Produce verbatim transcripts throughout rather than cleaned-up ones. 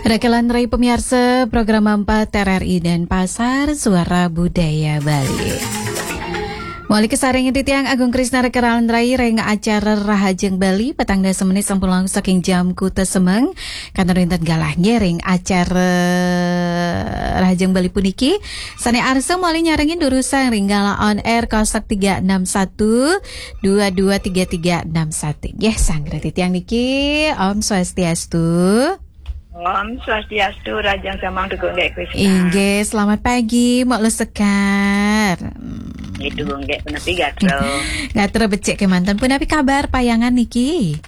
Rekelan rai pemiarsa program empat R R I Denpasar, Suara Budaya Bali. Mawali kasarengin titiang Agung Krisna rekelan rai ring acara Rahajeng Bali, petang dasa menit sampun langkung saking jam kuta semeng. Kanten wenten galah nggih ring acara Rahajeng Bali puniki. Sane arsa mawali nyarengin durusang ring galah on air kosek tiga enam satu dua dua tiga tiga enam satu. Nggih, sang titiang niki, Om Swastiastu. Om Swastiastu, Rahajeng semeng Tugung Gek Krisna. Inggih, selamat pagi, Mak Lusekar. Hmm. Nggih, Tugung Gek, punapi gatra? Gatra becik kemanten. Punapi kabar payangan niki?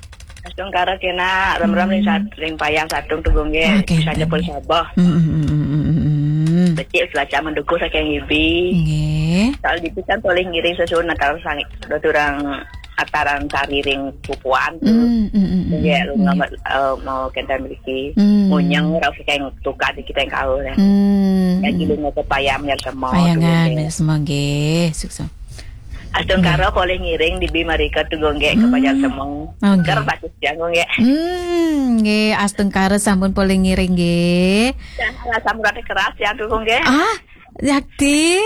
Astungkara kena, ram-ram ring Hmm. sat-, ring payang satung Tugung Gek. Oke, saja oke. Pun sabah. Hmm, hmm, hmm, hmm, hmm, hmm. Becik cuaca mendukung saking ibi. Nggih. Soal ditu kan polih ngiring sesuun natal sang, doturang ataran sari ring pupuan tu. Hmm, hmm, hmm, hmm, Nggih, hmm. Lu nggih. Ngambil, eh, mau kenten mriki. Hmm. Ngunyeng rasa kayak tukar di kita yang kau, ya. Hmm, Yang hmm. Giling ke payam, ya, semua Payangan, Tugung Gek. Ya, semua, nggih. Sukses. Astungkara Nggih. Polih ngiring dibi marika Tugung Gek ke Hmm. Pajar Semeng. Oh, nggih. Ker batis tiang, Tugung Gek. Hmm, nggih, astungkara sampun polih ngiring, nggih. Dan rasa murate keras tiang, Tugung Gek. Ah, yakti.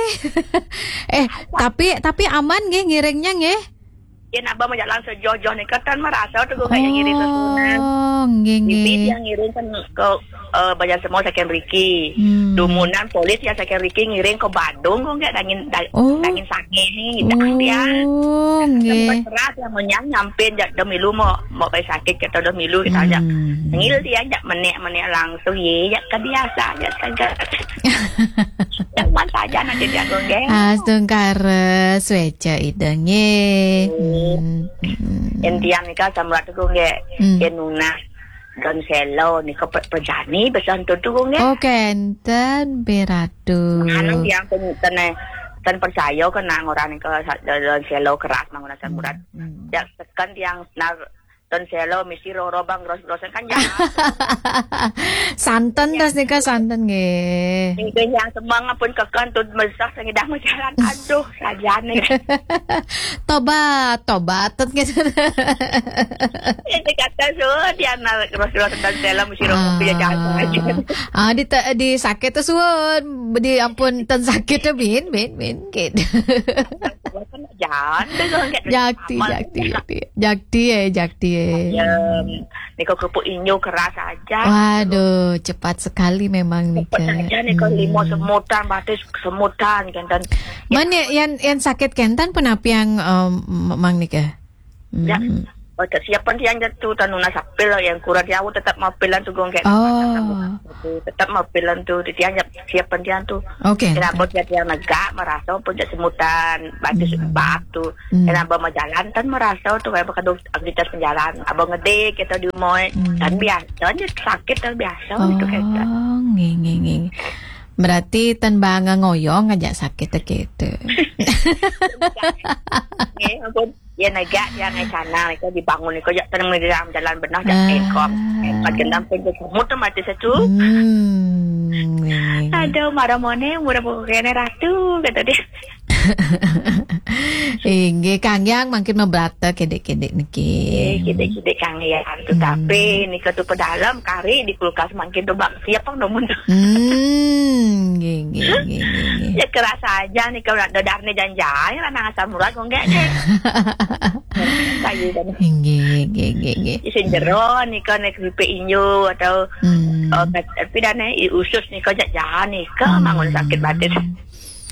Eh, tapi, tapi aman nggih ngiringnya nggih? Yen abah majalan sejoh-joh nika tan marasa Tugung Gek yang ngiring sesuunan. Oh, nggih, Bibi nggih. Yang ngiring kan ke, eh, Banjar Semua saking riki. Hmm. Dumunan polis ya saking riki ngiring ke Badung kok nggak dangin da-, Oh. Dangin sange ni dah dia. Oh, nggih. Sempat keras yang menyang nyampe jak demi lu mau, mau pai sakit kita demi lu kita aja. Hmm. Ngil dia jak menek-menek langsung ye, jak kebiasa, jak tegak. Yang mana saja nanti dia Tugung Gek. Astungkara sweca Ida nggih. Hmm. Hmm. Hmm. Yen tiang nika samrat Tugung Gek. Hmm. Yen nunas don selo nika pe-, pejani besan tu Tugung Gek. Oh, kenten, Biratu. Anu tiang ten, ten, ten percaya kena orang nika sa-, don selo keras mangunan samrat. Hmm. Hmm. Ya, tekan tiang nar don selo mesti roro bang gros-grosan kan jahat. Santen, ya. Terus nika santen nggih. Nggih, yang semeng pun keken tu mesak sing idah majalan. Aduh, sajane. Tobat, tobat, gitu. Ini kata so, dia nar gros-grosan don selo mesti roro Ah. Dia jahat aja. Ah, di te-, di sakit tu suun, di ampun ten sakit tu bin, bin, bin, gitu. Kan jahat tu kan, Tugung Gek. Jakti, Amal jakti, punya. Jakti. Jakti, eh, jakti, eh. Ya, nika kerupuk inyo keras aja. Waduh, cepat sekali memang nika. Cepat saja nika, hmm. Lima semutan, batis semutan, kenten. Mana yang, yang sakit kenten pun apa yang, em, mang nika? Ya. Hmm. Oh, tak siapan tiang jatuh, tan nunas apil yang kurang jauh tetap mau apilan Tugung Gek. Oh. Tetap mau apilan tu, tiang siapan tiang tu. Oke. Kenapa dia tiang negak, merasa pun jak semutan, batis Hmm. batu. Hmm. Kenapa mau jalan tan merasa tu, kayak bakal aktivitas penjalan. Abang ngedek kita di rumah, Hmm. Tan biasa, tan sakit tan biasa gitu kita. Oh, nggih, nggih, nggih. Berarti tan banga ngoyong aja sakit gitu. Nggih, ampun. Ya negak yang sana, itu dibangun itu jak tenang di dalam jalan benar jak Ah. Engkong. Engkong gendam pun semut tu mati satu. Hmm, nggih, nggih, nggih. Aduh, marah mone, murah buku kene ratu, kata dia. Inggih, Kang Yang mangkin mabrata kedek-kedek niki. Eh, kedek-kedek Kang Yang. Hmm. Tetapi nika tu pedalam kari di kulkas mangkin tu bak siap pang domun tu. Hmm, nggih, nggih, nggih, nggih, nggih. Ya kerasa aja nika nak dadar ni janjai lah nang asam urat kok enggak deh. Kayu kan. Nggih, nggih, nggih, nggih. Isin jero nika nek keripik inyo atau, Hmm. Eh, kat-, tapi dah ni, i usus nika jak jahan nika Hmm. mangun sakit batin.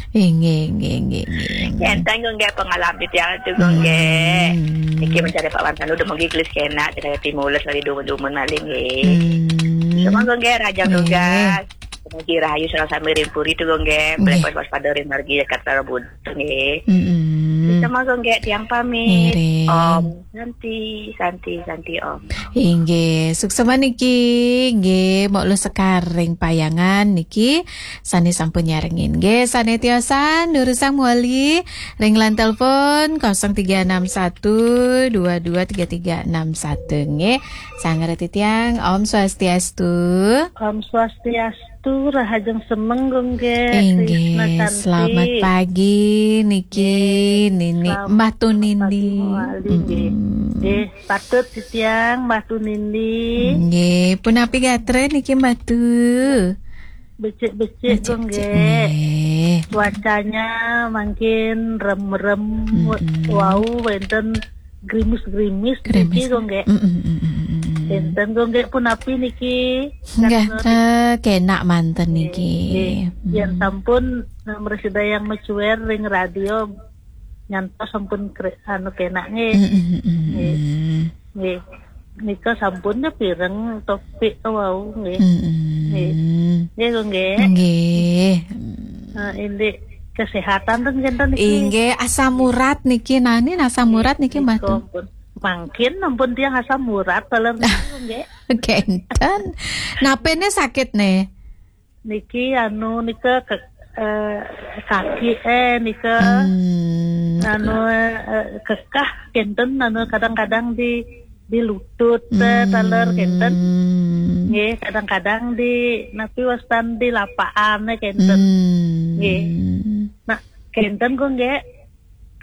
Inggih, inggih, inggih, inggih, inggih. Enteng kok nggih pengalaman tiang tu kok nggih. Hmm. Niki mencari Pak Wantan udah menggiglis kena, kita timules lagi dua-dua maling nggih. Hmm. Semua kok nggih, Rahajeng Nggih. Tugas. Mugi rahayu sareng sami ring puri tu kok nggih. Nggih. Beli waspada ring margi Jakarta Rebut nggih. Mm-mm. Semua kok nggih tiang pamit. Ngiring. Om Santi, Santi, Santi Om. Inggih, suksma niki, nggih, Mak Lusekar ring Payangan niki, sane sampun nyarengin. Nggih, sane tiosan, durusang mawali, ring line telepon kosong tiga enam satu dua dua tiga tiga enam satu, nggih. Sang reti tiang, Om Swastiastu. Om Swastiastu, Rahajeng Semeng, Gung Gek. Inggih, Krisna Santi. Selamat pagi, niki, Nggih, Nini, selamat Mbah Tunindi. Pagi, Mawali, nggih. Mm-mm. Nggih, patut titiang, Mbah Tunindi. Nggih. Punapi gatra niki Mbak Tu? Becik-becik, Becik-becik, nggih. Nggih. Cuacanya mangkin rem-rem, Mm-mm. wau wénten grimis-grimis Grimis. niki, nggih. Mm-mm, mm-mm, mm-mm. Enten, nggih, punapi niki? Nggih, Gatra. eh, kenak manten Nggih, niki. nggih. Yen Mm. sampun, eh, mresida yang mecuer ring radio, nyantos sampun kre-, anu, kenak, nggih. Mm-mm, mm-mm. Nggih. Nggih. Nika sampun ya pireng topik wau, nggih. Mm-mm. Nggih. Nggih, kok, nggih. Nggih. Nah, indik kesehatan ten kinten niki. Inggih, asam urat niki. Nah, ini asam urat niki, Mbak Nika Tu? Ampun. Mangkin ampun tiang asam urat, taler niku, nggih. Kenten. Napene sakit ne? Niki anu nika ke-, eh, kaki, eh, nika Hmm. anu, eh, kekah kenten, anu kadang-kadang di, di lutut, eh, Hmm. taler kenten. Nggih, kadang-kadang di, napi wastan, di lapakan, eh, kenten. Hmm. Nggih. Nah, kenten kok, nggih.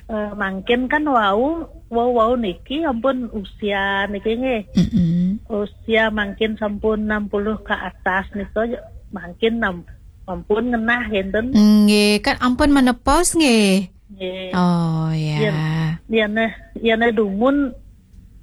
Eh, mangkin kan wau, wau, wau niki ampun usia niki, nggih. Mm-mm. Usia mangkin sampun enam puluh ke atas nika, mangkin nam-, ampun ngenah kenten. Nggih, kan ampun menopause nggih. Nggih. Oh, ya. Yen, yen, yen dumun,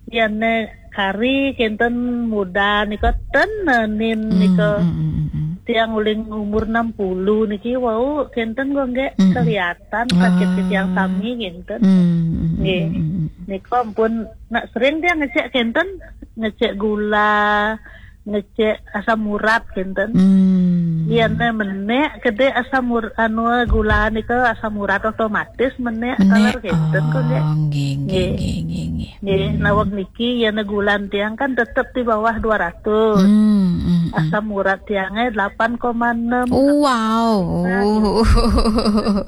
yen kari kenten muda nika ten, eh, nin Hmm, nika. Hmm, hmm, hmm, hmm. Tiang uling umur enam puluh niki wau kenten kok, nggih, Mm-mm. kelihatan sakit Ah. tiang sami kenten. Hmm, hmm, hmm, Nggih. hmm, hmm, hmm. Nika ampun, nak sering tiang ngecek kenten, ngecek gula, ngecek asam urat kenten. Hmm. Yen menek kede asam ur-, anu, gula nika, asam urat otomatis menek, Menek. Taler kenten kok, nggih. Oh, nggih, nggih, Nggih. nggih, nggih, nggih. Nggih, Hmm. nawak niki yen gula tiang kan tetep di bawah dua ratus. Hmm, hmm, hmm. Asam urat tiangnya delapan koma enam. Wow. Nah,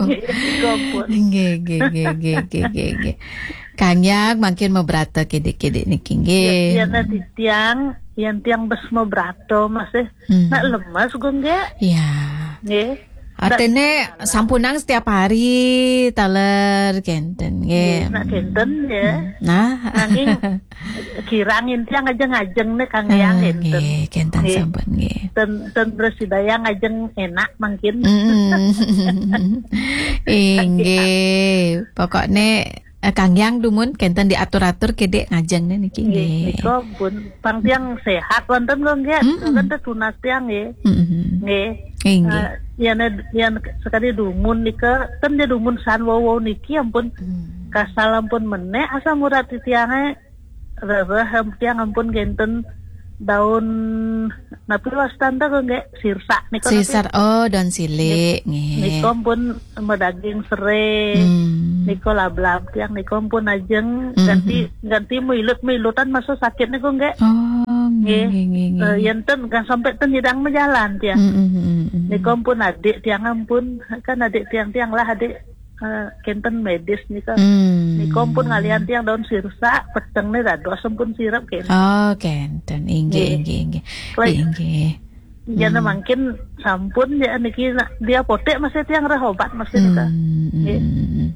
nggih. Nggih, ampun. Nggih, nggih, nggih, nggih, nggih, nggih. Kang Yang mangkin mebrata kidik-kidik niki, nggih. Ya, yen tiang, yen tiang bes mebrata masih Hmm. nak lemes kok, nggih. Ya. Nggih. Artine sampunang setiap hari taler kenten, nggih. Nggih, nak kenten, ya. Hmm. Nah. Nanging kirang tiang ajeng-ajeng ne, Kang Yang, Ah, kenten. Nggih, kenten Nggih. sampun, nggih. Ten, ten beres daya ngajeng enak mangkin. Mm. Inggih. Pokokne, eh, Kang Yang dumun kenten diatur-atur kidik ngajeng ne niki, Nggih, nggih. Nika pun pang tiang sehat wonten kok, nggih. Mm-mm. Kan tetunas tiang, nggih. Mm-mm. Nggih. Inggih. Eh, yen, yen sekali dumun nika, ten dia dumun san wau-wau niki ampun Hmm. kasal ampun menek asam urat tiange rereh, em, tiang ampun kenten daun napi wastan ta kok, nggih, sirsak nika napi? Sisar, oh, daun silik, Nik-, nggih. Nika ampun medaging serai. Hmm. Nika lablab tiang nika ampun ajeng Hmm, ganti, hmm. ganti milut-milutan masa sakit nika, nggih. Oh, nggih, Nggih. nggih, nggih, Eh, nggih. yen ten kan sampai ten nyidang mejalan tiang. Hmm, hmm, hmm, hmm, hmm. Nika ampun adik tiang ampun, kan adik tiang, tiang lah adik, eh, kenten medis nika. Hmm. Nika ampun ngalian tiang daun sirsak, peteng ne dados ampun sirep kenten. Oh, kenten. Inggih, Nggih. inggih, inggih. Baik. Inggih. Jana Hmm. mangkin sampun ya niki nak dia potek masih tiang reh obat masih nika. Hmm, Nggih. hmm, hmm.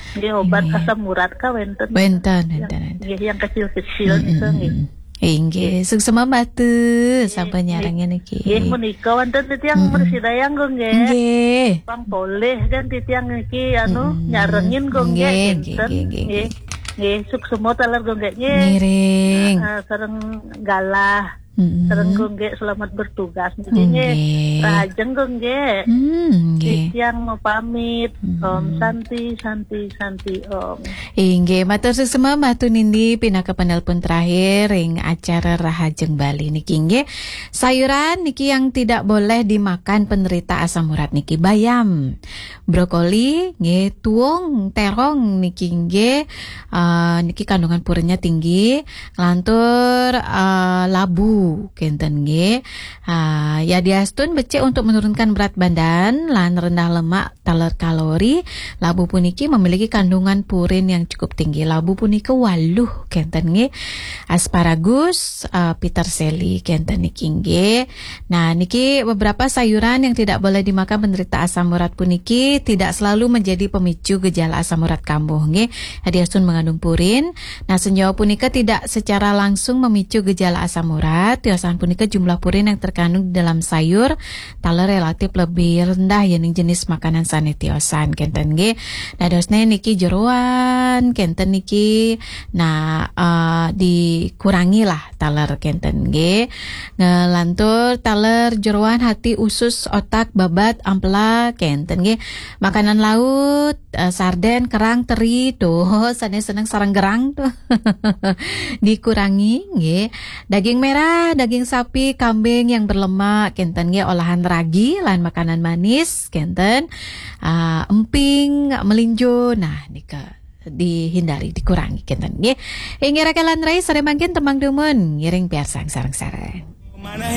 Nggih, obat Nggih. asam urat ka wenten. Wenten, Yang, wenten, wenten. nggih, yang kecil-kecil Hmm, nika, hmm, nggih. hmm. Inggih, Nggih. suksma Mbak Tu, Nggih, sampun nggih. nyarengin niki. Nggih, menika wonten tiang Hmm, hmm. mresi dayang kok, nggih. Nggih. Pang polih kan titiang niki, anu, Hmm, nyarengin kok, nggih, nggih, nggih, kenten. nggih, nggih, Nggih. nggih. Nggih, suksma taler kok, nggih, nggih. Ngiring. Ah, sareng galah. Mm-mm. Sareng kok, nggih, selamat bertugas. Nggih, nggih. Nggih. Rahajeng kok, nggih. Hmm, nggih. Titiang mau pamit. Mm-mm. Om Santi, Santi, Santi, Om. Inggih, matur suksma Mbah Tu Nindi pinaka penelpon terakhir ring acara Rahajeng Bali niki, nggih. Sayuran niki yang tidak boleh dimakan penderita asam urat niki, bayam, brokoli, nggih, tuung, terong niki, nggih. Ah, niki kandungan purinnya tinggi. Nglantur, eh, labu, kenten nggih. Ah, yadiastun becik untuk menurunkan berat badan lan rendah lemak taler kalori, labu puniki memiliki kandungan purin yang cukup tinggi. Labu punika waluh, kenten nggih. Asparagus, eh, peterseli, kenten niki nggih. Nah, niki beberapa sayuran yang tidak boleh dimakan penderita asam urat puniki tidak selalu menjadi pemicu gejala asam urat kambuh nggih. Yadiastun mengandung purin, Nah, senyawa punika tidak secara langsung memicu gejala asam urat, tiosan punika jumlah purin yang terkandung di dalam sayur taler relatif lebih rendah ya ning jenis makanan sane tiosan kenten nggih. Dadosne niki jeroan kenten niki, nah, eh, dikurangi lah taler kenten nggih. Ngelantur taler jeroan, hati, usus, otak, babat, ampela kenten nggih. Makanan laut, eh, sarden, kerang, teri tuh, sane seneng sareng gerang tuh. Dikurangi nggih. Daging merah, daging sapi, kambing yang berlemak kenten nggih, olahan ragi lan makanan manis kenten. Ah, emping, melinjo, nah nika dihindari, dikurangi kenten nggih. Inggih raka lan rai, sare mangkin tembang dumun ngiring piarsang sareng-sareng.